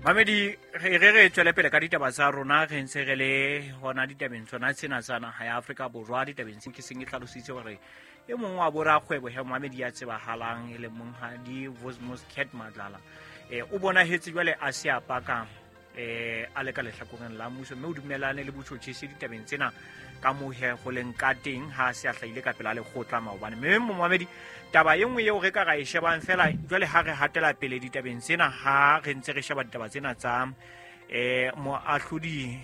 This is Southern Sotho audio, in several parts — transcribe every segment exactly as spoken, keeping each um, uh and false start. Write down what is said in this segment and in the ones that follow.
Mamedi, re re re tswele pele ka ditaba tsa rona, re ntse re le hona ditabeng tsona tsena tsa naha ya Afrika Borwa. Ditabeng tse ke seng e hlalositse hore e mong wa borakgwebo he Mohamedi ya tsebahalang e le monghadi Vosmos Cat Matlala, eh o bonahetse jwale a se a paka eh a le ka lehlakoreng la mmuso, mme o dumellane le botjhotjhisi ditabeng tsena ka moo he go leng ka teng ha se a hlahile ka pela lekgotla maobane. Mme Mohamedi, taba e nngwe eo re ka ra e shebang fela jwale ha re hatela pele ditabeng tsena, ha re ntse re sheba ditaba tsena tsa eh moahlodi,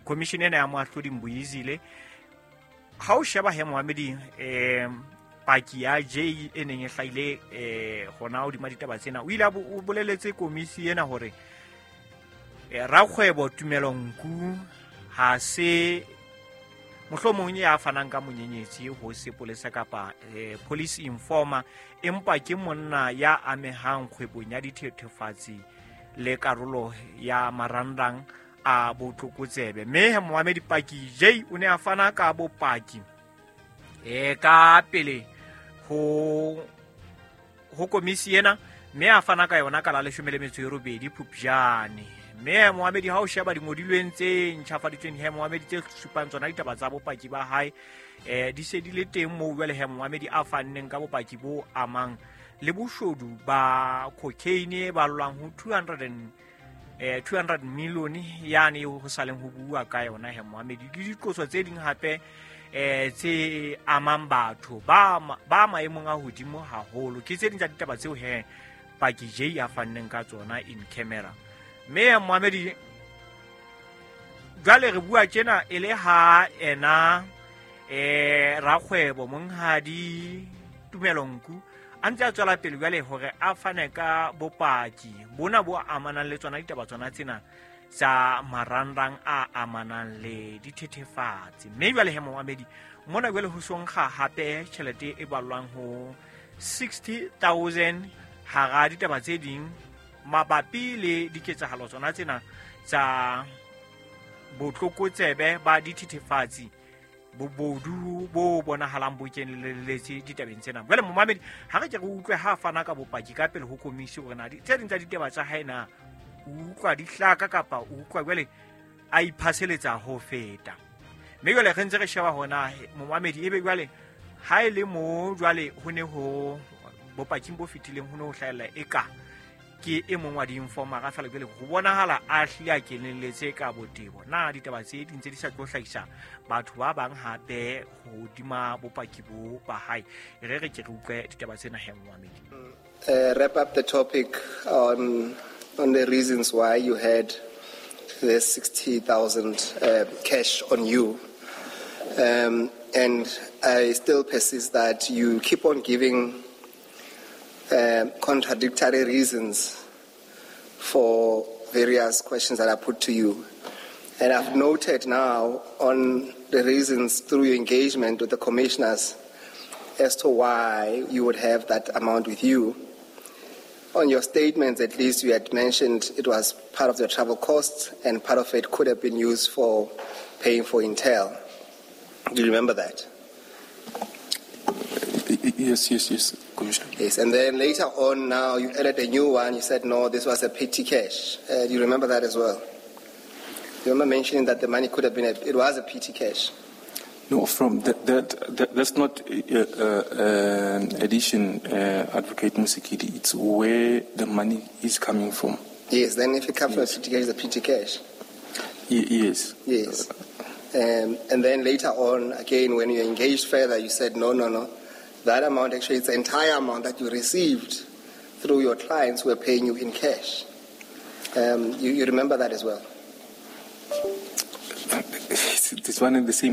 commission ena ya moahlodi Mbuyizile, ha o sheba he Mohamedi, eh paki ya J e neng e hlahile eh hona hodima ditaba tsena, o ile a bo-, o boleletse komisi ena hore eh, rakgwebo Tumelo Nku ha se mohlomong ya fanang ka monyenyetsi ho sepolesa kapa, eh, police informer, empa ke monna ya amehang kgwebong ya dithethefatsi le karolo ya marangrang a botlokotsebe. Mme Mohamedi, paki J o ne a fana ka bopaki eh, ka pele ho, ho komisi ena, mme a fana ka yona ka la leshome le metso e robedi Phupjane. Mme Mohamedi, ha o sheba dingodilweng tse ntjhafaditsweng he Mohamedi tse supang tsona ditaba tsa bopaki ba hae, eh, di se di le teng moo jwale he Mohamedi a fanneng ka bopaki bo amang le boshodu ba cocaine e ballwang ho two hundred and, eh, two hundred million yane eo ho saleng ho bua ka yona he Mohamedi, le diqoso tse ding hape eh, tse amang batho ba ma-, ba maemong a hodimo haholo. Ke tse ding tsa ditaba tseo he paki J a fanneng ka tsona in camera. Mme Mohamedi, jwale re bua tjena e le ha ena, eh, rakgwebo monghadi Tumelo Nku a ntse a tswela pele jwale hore a fane ka bopaki bona bo amanang le tsona ditaba tsona tsena tsa marangrang a amanang le dithethefatsi. Mme jwale he Mohamedi, mona jwale ho so nkga hape tjhelete e ballwang ho sixty thousand hara ditaba tse ding mabapi le diketsahalo tsona tsena tsa botlokotsebe ba dithethefatsi, bobodu bo bonahalang bo keneletse ditabeng tsena. Jwale Mohamedi, ha re ke re utlwe ha a fana ka bopaki ka pele ho komisi hore na di-, tse ding tsa ditaba tsa hae na o utlwa di hlaka kapa o utlwa jwale a iphaseletsa ho feta. Mme jwale re ntse re sheba hona Mohamedi, ebe jwale ha e le mo jwale ho ne ho bopaking bo fetileng ho ne ho hlahella eka ke e mong wa di-informer-a feela, jwale ho bonahala a hlile a kenelletse ka botebo. Na ditaba tse di ntse di sa tlo hlahisa batho ba bang hape hodima bopaki bo ba hae? Re re ke re utlwe ditaba tsena he Mohamedi. Uh, wrap up the topic on, on the reasons why you had the sixty thousand, uh, cash on you. Um, and I still persist that you keep on giving, uh, contradictory reasons for various questions that are put to you. And I've noted now on the reasons through your engagement with the commissioners as to why you would have that amount with you. On your statements, at least, you had mentioned it was part of your travel costs and part of it could have been used for paying for Intel. Do you remember that? Yes, yes, yes, Commissioner. Yes, and then later on now you added a new one. You said, no, this was a petty cash. Uh, do you remember that as well? You remember mentioning that the money could have been, a, it was a petty cash. No, from that, that, that that's not, uh, uh, an addition, uh, Advocate Mosikili. It's where the money is coming from. Yes, then if it comes Yes. from a petty cash, it's a petty cash. Ye-, yes. Yes. Um, and then later on, again, when you engaged further, you said, no, no, no. That amount, actually, it's the entire amount that you received through your clients who were paying you in cash. Um, you, you remember that as well? It's, it's one and the same